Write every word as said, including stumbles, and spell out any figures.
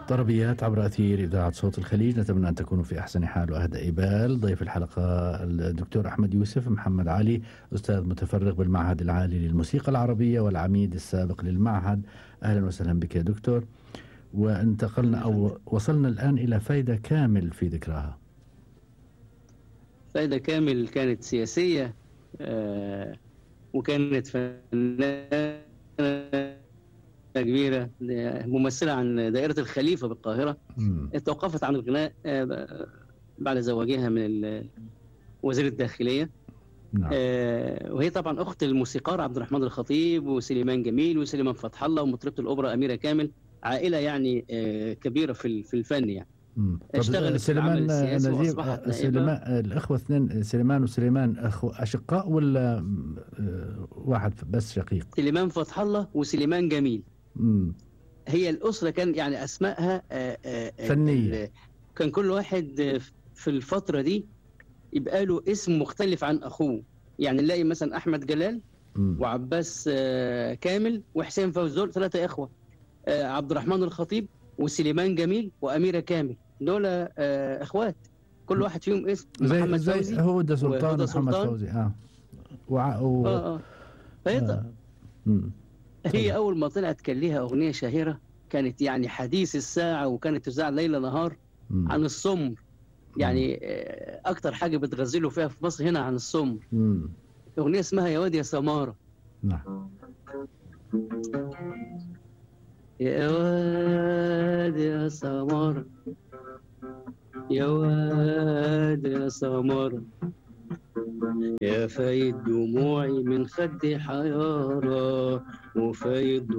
طربيات عبر أثير إذاعة صوت الخليج، نتمنى أن تكونوا في أحسن حال وأهدأ بال. ضيف الحلقة الدكتور أحمد يوسف محمد علي، أستاذ متفرغ بالمعهد العالي للموسيقى العربية والعميد السابق للمعهد. أهلا وسهلا بك يا دكتور. وانتقلنا أو وصلنا الآن إلى فايدة كامل في ذكراها. فايدة كامل كانت سياسية آه وكانت فنانة كبيرة ممثلة عن دائرة الخليفة بالقاهرة. م. توقفت عن الغناء آه بعد زواجها من وزير الداخلية. نعم. آه وهي طبعا أخت الموسيقار عبد الرحمن الخطيب وسليمان جميل وسليمان فتح الله ومطربة الأوبرا أميرة كامل، عائلة يعني آه كبيرة في في الفن يعني. اشتغلت في العمل السياسي وأصبحت سليمان. الأخوة اثنين سليمان وسليمان أخو أشقاء ولا واحد بس شقيق؟ سليمان فتح الله وسليمان جميل. مم. هي الأسرة كان يعني أسمائها آآ آآ فنية. كان كل واحد في الفترة دي يبقى له اسم مختلف عن أخوه، يعني نلاقي مثلا أحمد جلال مم. وعباس كامل وحسين فوزول، ثلاثة إخوة. عبد الرحمن الخطيب وسليمان جميل وأميرة كامل، دول آه اخوات كل واحد فيهم اسم. محمد زي فوزي هدى سلطان محمد فوزي اه وع... و... اه اه فهي آه. هي اول ما طلعت كان ليها اغنيه شهيره كانت يعني حديث الساعه، وكانت تذاع ليل نهار مم. عن السمر. يعني آه اكتر حاجه بتغزلوا فيها في مصر هنا عن السمر. مم. اغنيه اسمها يا واد يا سماره. نعم. يا واد يا سمارة يا واد يا سمارة يا فايد دموعي من خدي حيارة وفايد